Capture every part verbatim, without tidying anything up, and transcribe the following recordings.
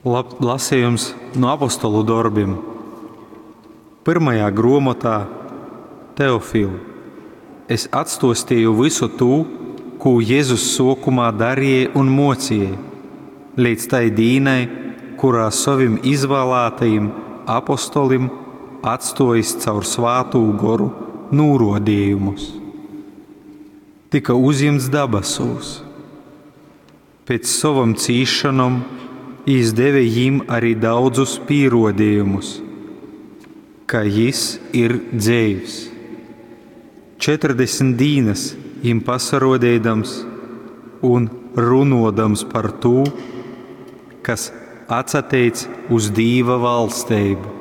Lab, lasījums no apostolu dorbiem. Pirmajā gromotā Teofil, es atstostīju visu tū, kū Jēzus sokumā darīja un mocīja, līdz tai dīnai, kurā savim izvēlētajiem apostolim atstojis caur svātū goru nūrodījumus. Tika uzņemts dabasūs. Pēc savam cīšanom jis deve jim arī daudzus pierodījumus, ka jis ir dzeivs. Četrdesmit dīnas jim pasarodēdams un runodams par tū, kas atsateic uz Dīva valstību.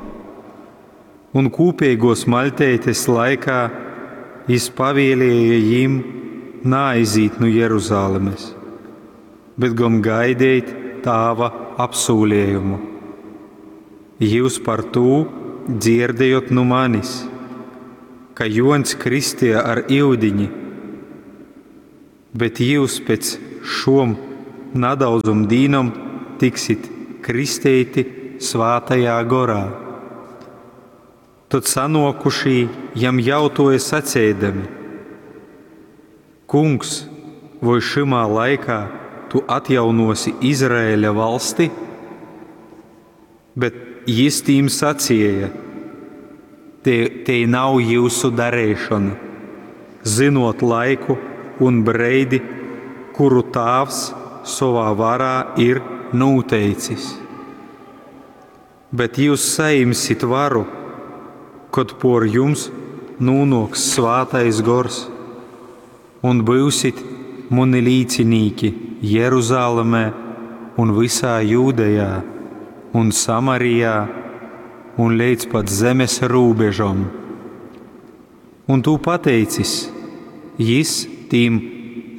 Un kūpīgos maļteites laikā jis pavēlēja jim naaizīt no Jeruzalemes, bet gan gaidīt tāva apsūlējumu. Jūs par tū dzirdējot no manis, ka Jons kristīja ar iudiņi, bet jūs pēc šom nadaudzum dīnom tiksit kristīti svātajā gorā. Tad sanokušī jam jautoja sacēdami: Kungs, voi šimā laikā tu atjaunosi Izraēļa valsti? Bet jis tīm sacīja: Te, te nav jūsu darīšana, zinot laiku un breidi, kuru tāvs savā varā ir noteicis. Bet jūs saimsit varu, kad por jums nūnoks svātais gors, un būsit mani līcinīki Jeruzalemē un visā Jūdejā un Samarijā un līdz pat zemes robežom. Un tu pateicis, jis tīm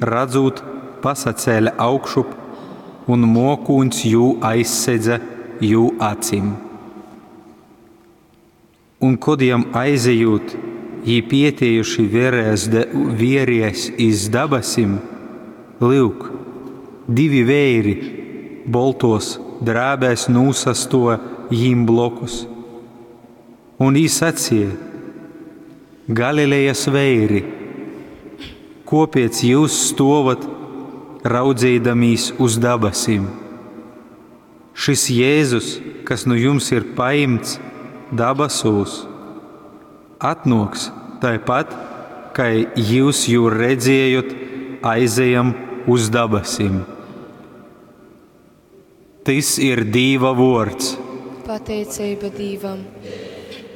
redzot pasacēla augšup, un mokūns jū aizsedza jū acim. Un kod jam aizejot, jī pietiejuši vierēs, de, vieries iz dabasim, lūk, divi veiri boltos drēbēs nūsasto jīm blokus. Un jī sacīja: Galilejas veiri, kopiec jūs stovat, raudzīdamīs uz dabasim? Šis Jēzus, kas nu jums ir paimts dabasūs, atnoks tāpat, kā jūs jū redzējot, aizejam uz dabasim. Tis ir Dīva vords. Pateicība Dīvam.